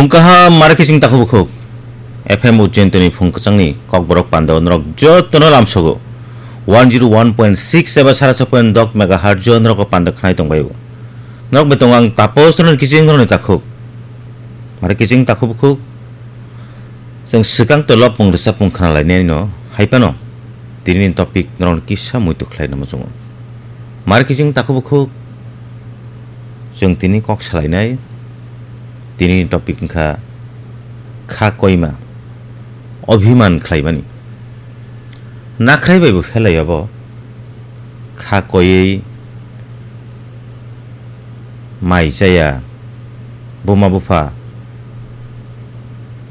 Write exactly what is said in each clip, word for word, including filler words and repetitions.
Phung kaham, mare kiching takhuk bukhuk. F M Ujjain toni phung kwchangni kokborok pandao norok jotono lamsogo. One zero one point six eba sara sa point dok megahertz o norok panda khnai tongbaio. Norok bai tongo ang tapos norok kiching norokni takhuk. Mare kiching takhuk bukhuk. Chwng swkang to lopmung rwchapmung khna lainai no hai phano tinini topic norok kisa muitu khlai no muchungo. Mare kiching takhuk bukhuk. Chwng tini kok salainai, tini topic wngkha kha koima, obhiman khlaimani. Nakhrai bai bo phelai obo, kha koiwi mai chaya, buma bupha,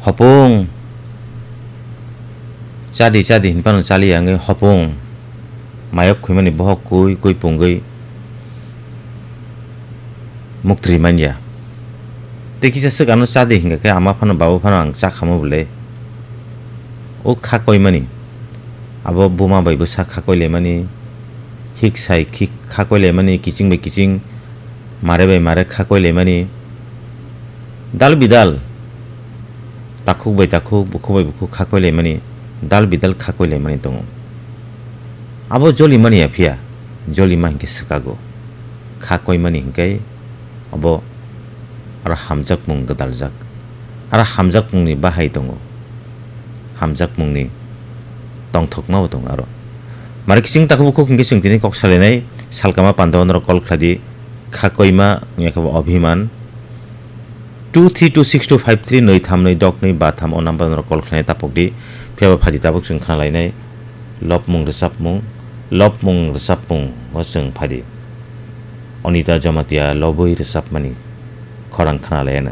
hopung chadi chadi hinphano chaliya wngwi hopung mayok khuimani bohok kui kui pungwi muktri manya. Tei kisa swk ano chadi hinkha khe ama phano baba phano ang chakhamo bwle. O kha koimani. Abo buma bai bwsa kha koilaimani. Hik sai khik kha koilaimani, kiching bai kiching, mare bai mare kha koilaimani. Dal bidal, takhuk bai takhuk, bukhuk bai bukhuk kha koilaimani, dal bidal kha koilaimani tongo. Abo jolimani ya phiya, jolima hinkhe swkago. Kha koimani hinkhe abo aro hamjakmung gwdaljak. Aro hamjakmungni bahai tongo. Hamjakmungni tongthokma bo tongo aro. Mare kiching takhuk bukhuk hinkhe chwng tini kok salainai, salkama pandao norok call khlai di, kha koima wngya khe bo obhiman. Two three two six two five three nwi tham nwi dok nwi ba tham o number norok call khlainai tapok di. Phiya ba phadi tabuk chwng khna lainai lopmung rwchapmung, lopmung rwchapmung o chwng phadi. Onita Jamatia lobwi rwchapmani khorang khna laiano.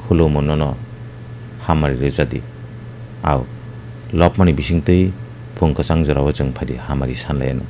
Khulumo nono hamari rwjadi. Au lopmani bisingtwi phung kwchang jorao chwng phadi hamari san laiano.